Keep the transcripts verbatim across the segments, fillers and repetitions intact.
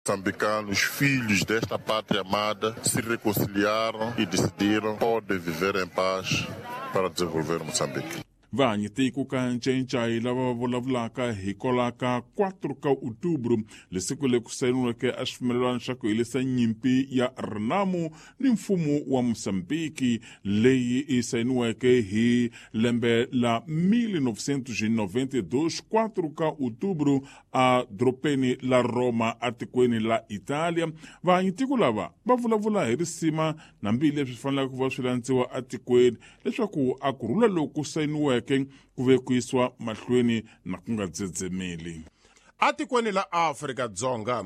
Moçambicanos, filhos desta pátria amada, se reconciliaram e decidiram podem viver em paz para desenvolver Moçambique. Vanyitiko ka ncencai lava va vulavulaka hi kolaka quatro ka outubro lesiku leyi ku sayiniweke a xipfumelelano xa ku helisa nyimpi ya Renamo ni mfumo wa Mozambiki leyi yi sayiniweke hi lembe la mil novecentos e noventa e dois, quatro ka outubro a doropeni la Roma atikweni la Italia. Vanyitiko lava va vulavula hi risima na mbileswi fanelaka ku va swi landziwa atikweni leswaku a ku rhula loku sayiniweke ku ve ku yisiwa mahlweni na ku nga dzedzemeli. Atikweni la Afrika-Dzonga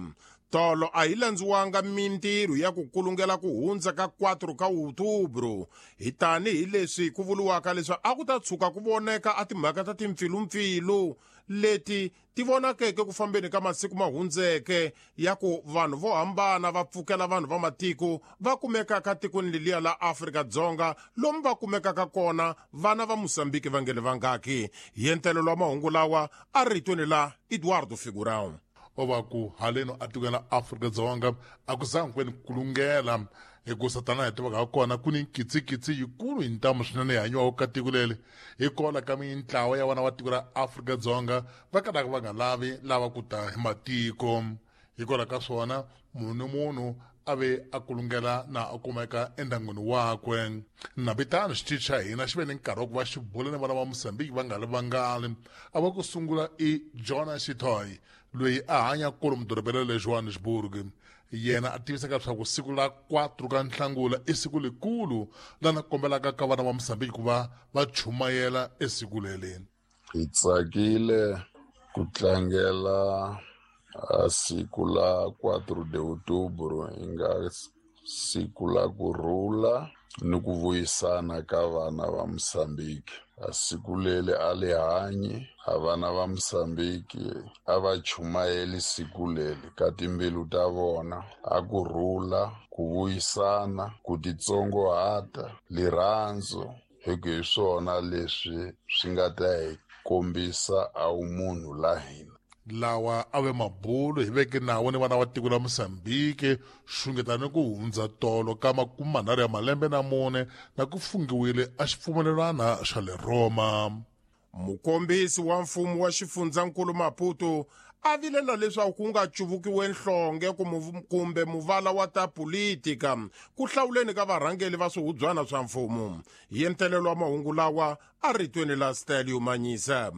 tolo a yi landziwanga mintirho ya ku kulungela ku hundza ka quatro ka outubro hi tanihileswi ku vuriwaka leswi a ku ta tshuka ku voneka a timhaka ta timpfilumpfilu leti ti vonakeke ku fambeni ka masiku ma hundzeke ya ku vanhu vo hambana va pfukela vanhu va matiko va kumekaka tikweni leliya la Afrika-Dzonga lomu va kumekaka kona vana va Mozambique va ngele vangaki. Hi entelelo wa mahungu lawa a ritweni la Eduardo Figurão. O va ku haleno atikweni la Afrika-Dzonga a ku zangi ku ve ni kulungela hikusa tanihi tivaka ha kona ku ni nkitsikitsi yikulu hi ntamu swinene yi hanyiwaka ka tiko leri hikwalaho ka mintlawa ya vana va tiko ra Afrika-Dzonga va kalaka va nga lavi lava ku ta hi matiko. Hikwalaho ka swona munhu ni munhu a ve a kulungela na a kumeka endyangwini wakwe. Nabitano xitichi xa hina xi ve ni nkarhi wa ku va xi bula ni vana va Mozambique va nga ri vangali. A va ku sungula i Jonas Shitoy loyi a hanya kolomu dorobeni ra le Johannesburg. Yena a tivisaka leswaku siku la quatro ka Nhlangula i siku likulu lana kombelaka ka vana va Mozambique ku va va chumayela esiku leri. Hi tsakile ku tlangela siku la quatro de outubro yi nga siku la ku rhula ni ku vuyisana ka vana va Mozambique. A siku leri a li hanyi, a vana va Mozambique a va chumayeli siku leri ka timbilu ta vona, a ku rhula, ku vuyisana, ku titsongohata, lirhandzu, hi ku hi swona leswi swi nga ta hi kombisa a wumunhu la hina. Lawa a ve mabulu hi veke nawu ni vana va tiko la Mozambique xungeta ni ku hundza tolo ka makume manharhu ya malembe na mune na ku fungiwile a xipfumelelwana xa le Roma. Mukombisi wa mfumo wa xifundzankulu Maputo a vilela leswaku ku nga cuvukiwe nhlonge kumbe muvala wa ta politika ku hlawuleni ka varhangeli va swihubyana swa mfumo. Hi entelelo wa mahungu lawa a ritweni la Stelio Manyisa.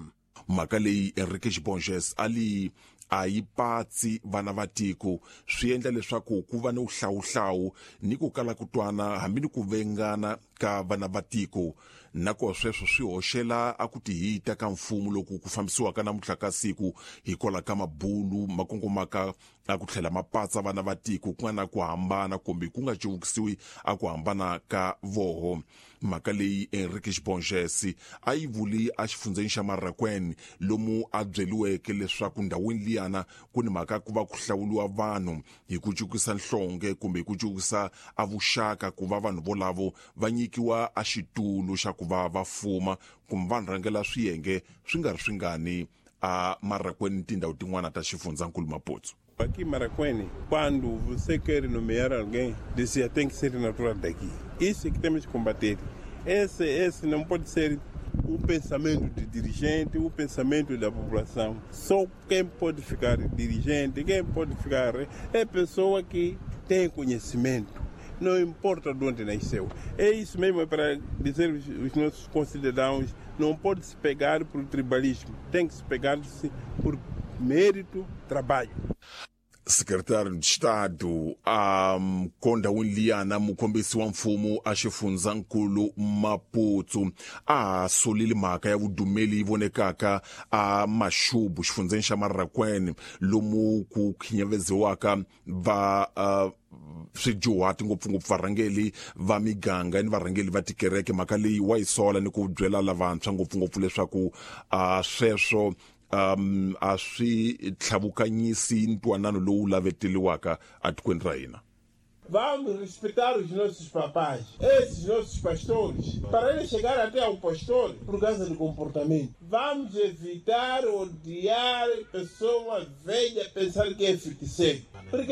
Mhaka leyi Enrique Borges a li a yi patsi vana va tiko swi endla leswaku ku va ni wuhlawuhlawu ni ku kala ku twana hambi ni ku vengana ka vana va tiko na ko sweswo swi hoxela a ku tihita ka mfumo loku ku fambisiwaka namuntlha ka siku hikwalaho ka mabulu ma kongomaka a ku tlhela ma patsa vana va tiko ku nga na ku hambana kumbe ku nga cuvukisiwi a ku hambana ka voho. Mhaka leyi Enrique Borges a yi vuli a xifundzeni xa Marraquene lomu a byeliweke leswaku ndhawini liyana ku ni mhaka ku va ku hlawuliwa vanhu hi ku cukisa nhlonge kumbe hi ku cukisa a vuxaka ku va vanhu volavo va nyikiwa a xitulu xa ku va va fuma kumbe va rhangela swiyenge swi nga ri swingani a Marraquene tindhawu tin'wana ta xifundzankulu Maputo. Aqui em Marraquene, quando você quer nomear alguém, dizia tem que ser natural daqui. Isso é que temos que combater. Esse, esse não pode ser o pensamento de dirigente, o pensamento da população. Só quem pode ficar dirigente, quem pode ficar é pessoa que tem conhecimento. Não importa de onde nasceu. É isso mesmo, é para dizer os nossos concidadãos, não pode se pegar por tribalismo, tem que se pegar-se por mérito, trabalho. Secretário de Estado a um, Konda Winliana mukombisi wa mfumo a xifundzankulu Maputo a solile mhaka ya vudumeli yi vonekaka a Mashubu xifundzeni xa Marraquene lomu ku khinyaveziwaka va uh, swijuhati ngopfungopfu varhangeli va miganga ni varhangeli va tikereke. Mhaka leyi wa yi sola ni ku byela lavantshwa ngopfungopfu leswaku uh, sweswo um a swi tlhavukanyisi ntwanano lowu laveteliwaka atikweni ra hina. Vamos respeitar os nossos papás, esses nossos pastores, para eles chegar até ao pastor por causa do comportamento. Vamos evitar odiar pessoa velha, pensar que é feiticeiro. Porque